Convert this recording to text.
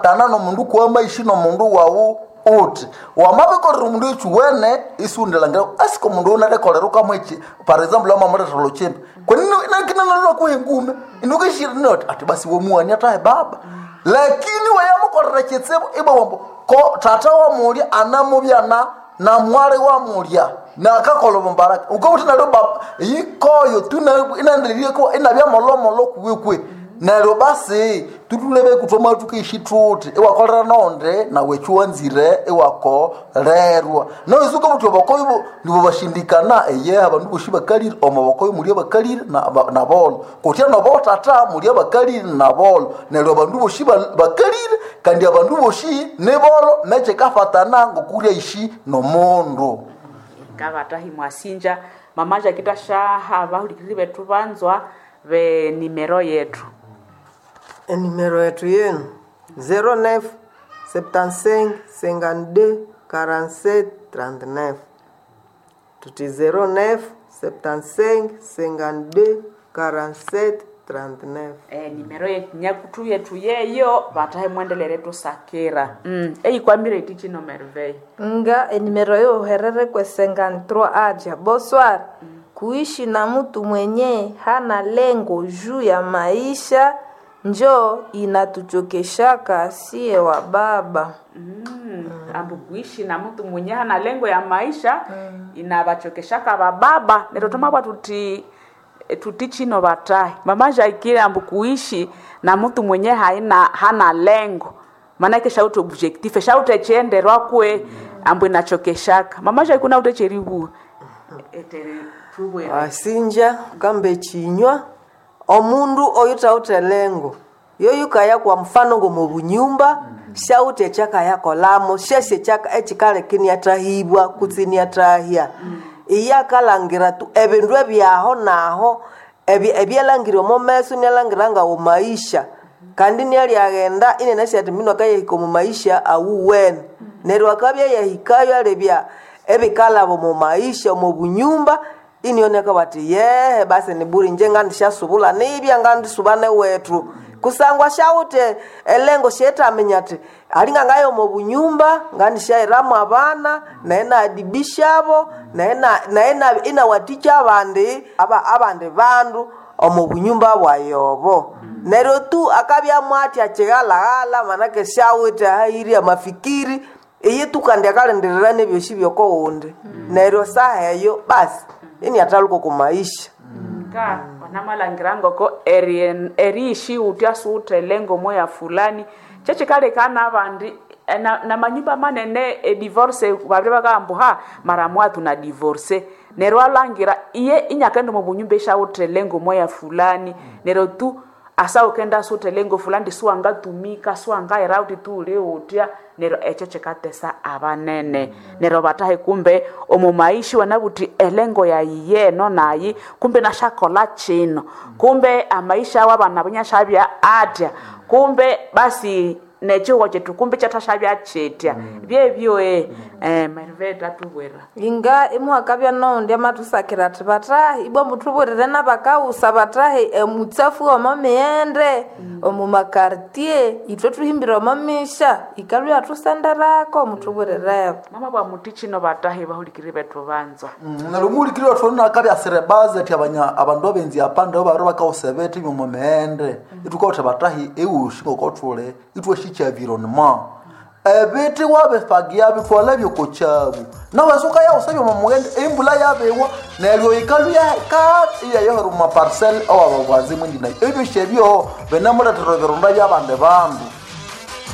Tana nomundu kuwamaishi nomundu wawu uthi wamabikolera omundu ekyuwene isiwundilangira asika omundu unarekolera ukamweki, par example wamamulethera olhukyimba kweninalwakuha engume inukishiri ati basi wamuwania tahe baba, lakini wayamukolera kyitsibu ibwa wambu ko tata wamulya anamubya na namwali wamulya nakakola obumbaraka ukabuthi neryo baba yikoyo tu inaendelerieko inabya molomolo kuwekwe neryo basi tutulebe kuthoma tukeishi thuthi iwakolera nonde nawe ekyiwanzire iwakolerwa noisuka buthi obokoyo nibobashindikana eye abandu bosi bakalire omobokoyo muli abakalire nabolo kutya nobotata muli abakalire nabolo neryo abandu bosi bakalire kandi abandu bosi nibolo nekyikafatana ngokurya ishi nomundu. Ngabatahi mwasinja mama Jakita shaha bahulikiriri bethu banzwa be nimero yetu. Enimero yetu yenu 09 75 52 47 39 tuti 09 75 52 47 39. Nimero nyakutu yetu yeyo batahe mwendelere tusakira eikwambire iti chino Merveille nga enimero yo herere kwe 53 aja bonsoir. Kuishi na mtu mwenye hana lengo juu ya maisha njo inatuchokeshaka sie wa baba. Ambu kuishi na mtu mwenye hana lengo ya maisha inabachokeshaka bababa neryo tomabwa tuti tuti chino batahi mama Jakire ambu kuishi na mtu mwenye haina hana lengo manake shauti objective shauti echenderwa kwe ambu inachokeshaka mama Jakire kuna utecheribu etere tubwere Asinja kambe chinywa omundu oyutawuthe lengo yoyukaya kwa mfano ngomubunyumba shauthi ekyakayakolamo syasi ekikaleka iniathahibwa kutse iniathahya iye akalangira tu ebindu ebyaho naho ebyalangire omo meso inialangira ngawo maisha kandi inialyaghenda inanasi ati minu akayahika omu maisha awuwene neryo akabya yahikayo alebya ebikalaba omu maisha omu bunyumba inioneka bati yehe basi niburi nje ngandishasubula nibya ngandisuba newethu kusangwa shawuthe elengo shetaminya ati alinga ngayo omu bunyumba ngandishairamu abana naye naadibishabo naye inawatikya abandi abandi bandu omu bunyumba bwayobo neryo tu akabyamu atya kyighalaghala manake shawithe ahayiri amafikiri iye tu kandi akalindirira nebyosi byokowundi neryo saha eyo basi iniathaluka oku maisha. Ka wanamalangira ngoko eriishi utya suuthe lengo moya fulani kyekikalekana abandi na manyumba manene edivorce babiri bakagamba ha mara moya tuna divorce neryo alangira iye inyakaenda omu bunyumba eshawuthe lengo moya fulani neryo tu asa ukenda suthe lengo fulani siwangatumika siwangaira uti tuule utya neryo ekyo kikatesa abanene neryo batahe kumbe omu maishi wanabuthi elengo yayi yeno nayi kumbe nashakola chino kumbe amaisha awo abana bunyashabya atya kumbe basi nechihugo chetu kumbe kyathashabya kyetya byebyo Merveille tatubwera inga imuhakabya noundi amathusakira ati batahi ibwa muthubulire nabakawusa batahi emutsafu omo mighende omu makartier ithwe thuhimbire omo misha ikalwa yathusenderako muthubulireho. Mama bwa muti chino batahi bahulikiri bethu banzwa. Neryo omuhulikiri wethu nakabya sirebaza ati abandu abenzi apanda babiri bakawusa ebithi byomo mighende ithukawutha batahi ewushi ngokothuli ithwashikya environment ebithi wabifagia bithwala byokokyabu nawe sukayawusa byomo mughende embula yabiwa neryo ikalwa ka iyayohera omu maparcel awababwanzi mwindi nayo ebyosi ebyo binamulethera ebirunda byabandi bandu.